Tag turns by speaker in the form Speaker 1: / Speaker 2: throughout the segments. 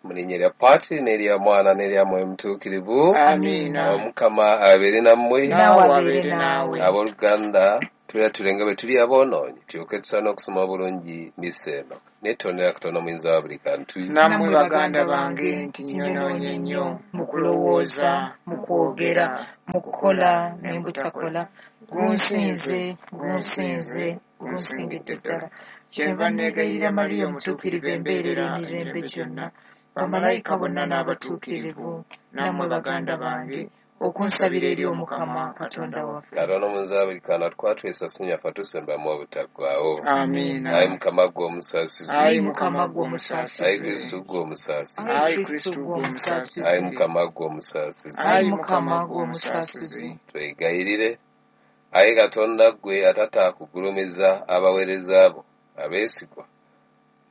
Speaker 1: Mu linnya erya Patri n'erya Mwana n'erya Mwoyo Mutuukirivu.
Speaker 2: Amiina.
Speaker 1: Omukama abeere nammwe.
Speaker 2: Naawe abeere naawe.
Speaker 1: Abooluganda, tweyatule nga bwe tuli aboonoonyi, tulyoke tusaane okusoma obulungi mmisa eno. Neetondera Katonda Omuyinza wa buli kantu.
Speaker 2: Nammwe baganda bange nti nnyonoonye nnyo mu kulowooza, mu kwogera, mu kukola ne butakola. Gunsinze, gunsinze, gunsingidde ddala. Kyenva neegayirira Mariya Omutuukirivu embeerera emirembe gyonna, bamalayika bonna n'abatuukirivu, nammwe baganda bange, okunsabira eri Omukama Katonda waffe.
Speaker 1: Katonda Omuyinza wa buli kantu atukwatule nyaffe atusembamu obutaggwaawo.
Speaker 2: Amiina.
Speaker 1: Ayi Mukama ggwe omusaasizi.
Speaker 2: Ayi Mukama ggwe
Speaker 1: Ayi
Speaker 2: omusaasizi.
Speaker 1: Kristu ggwe omusaasizi.
Speaker 2: Ayi Kristu ggwe omusaasizi.
Speaker 1: Ayi Mukama ggwe omusaasizi.
Speaker 2: Ayi Mukama ggwe omusaasizi.
Speaker 1: Twegayirire. Ayi Katonda ggwe atataakugulumiza abaweereza bo abeesigwa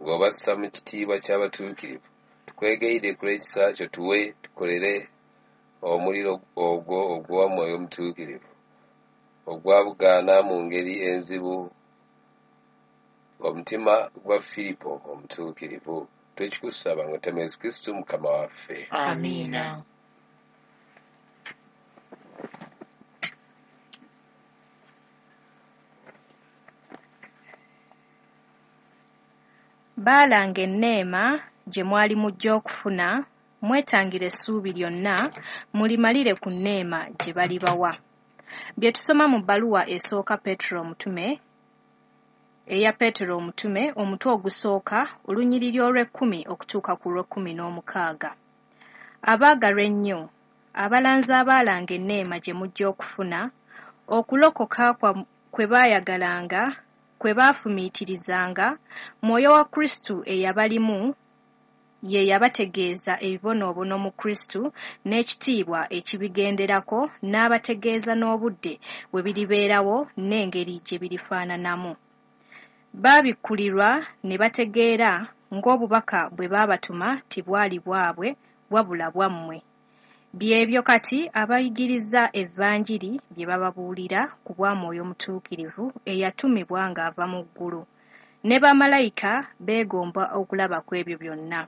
Speaker 1: ng'obassa mu kitiibwa ky'abatuukirivu, tukwegayirire ku lw'ekisa kyo tuwe tukolere omuliro ogwo ogwa Mwoyo Mutuukirivu ogwabugaana mu ngeri enzibu omutima gwa Firipo omutuukirivu. Twekikusaba nga tuyita mu Yesu Kristu Mukama waffe.
Speaker 2: Amiina.
Speaker 3: Baalanga enneema gye mwali mujja okufuna, mwetangire essuubi lyonna, mulimalire ku nneema gye balibawa. Bye tusoma mu bbaluwa esooka Peetero Omutume, eya Peetero Omutume, omutwe ogusooka, olunyiriri olw'ekkumi okutuuka ku lw'ekkumi n'omukaaga. Abaagalwa ennyo, abalanzi abaalanga enneema gye mujja okufuna, okulokoka kwe baayagalanga, kwe baafumiitirizanga, Mwoyo wa Kristu eyabalimu ye yabategeeza ebibonoobono mu Kristu n'ekitiibwa ekibigenderako n'abategeeza n'obudde bwe biribeerawo n'engeri gye birifaananamu. Baabikkulirwa ne bategeera ng'obubaka bwe baabatuma tibwali bwabwe wabula bwammwe. Byebyo kati abayigiriza Evanjiri bye bababuulira ku bwa Mwoyo Mutuukirivu eyatumibwa ng'ava mu ggulu. Ne bamalayika beegomba okulaba ku ebyo byonna.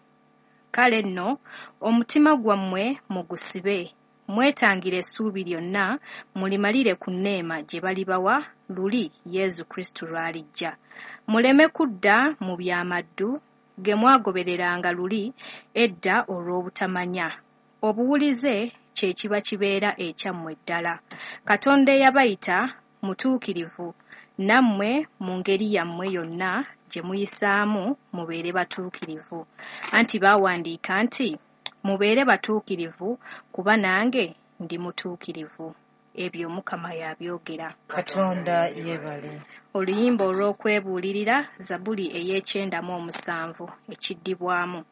Speaker 3: Kale nno omutima gwammwe mugusibe, mwetangire essuubi lyonna, mulimalire ku nneema gye balibawa luli Yesu Kristu lw'alijja. Muleme kudda mu byamaddu ge mwagobereranga luli edda olw'obutamanya. Obuwulize kye kiba kibeera ekyammwe ddala. Katonda eyabayita mutuukirivu, nammwe mu ngeri yammwe yonna gye muyisaamu mubeere batuukirivu. Anti baawandiika nti, mubeere batuukirivu kuba nange ndi mutuukirivu. Ebyo Omukama y'abyogera.
Speaker 2: Katonda yeebale.
Speaker 3: Oluyimba olw'okwebuulirira, Zabbuli ey'ekyenda mu omusanvu, ekiddibwamu.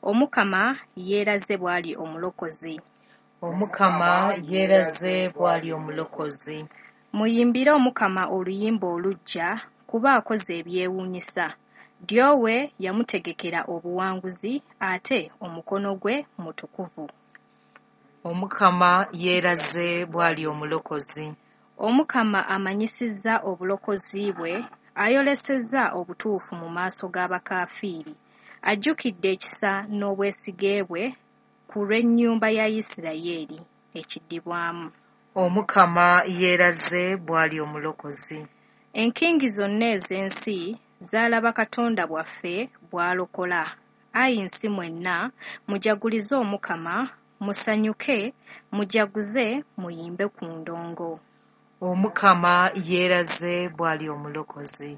Speaker 3: Omukama yeeraze bw'ali omulokozi.
Speaker 2: Omukama yeeraze bw'ali omulokozi.
Speaker 3: Muyimbire Omukama oluyimba oluggya, kuba akoze ebyewuunyisa. Ddyo we yamutegekera obuwanguzi, ate omukono gwe mutukuvu.
Speaker 2: Omukama yeeraze bw'ali omulokozi.
Speaker 3: Omukama amanyisizza obulokozi bwe, ayolesezza obutuufu mu maaso g'abakaafiiri. Ajjukidde ekisa n'obwesige bwe ku lw'ennyumba ya Yisirayeli. Ekiddibwamu.
Speaker 2: Omukama yeeraze bw'ali omulokozi.
Speaker 3: Enkingi zonna ez'ensi zaalaba Katonda bwaffe bw'alokola. Ayi nsi mwenna, mujagulize Omukama, musanyuke, mujaguze, muyimbe ku ndongo.
Speaker 2: Omukama yeeraze bw'ali omulokozi.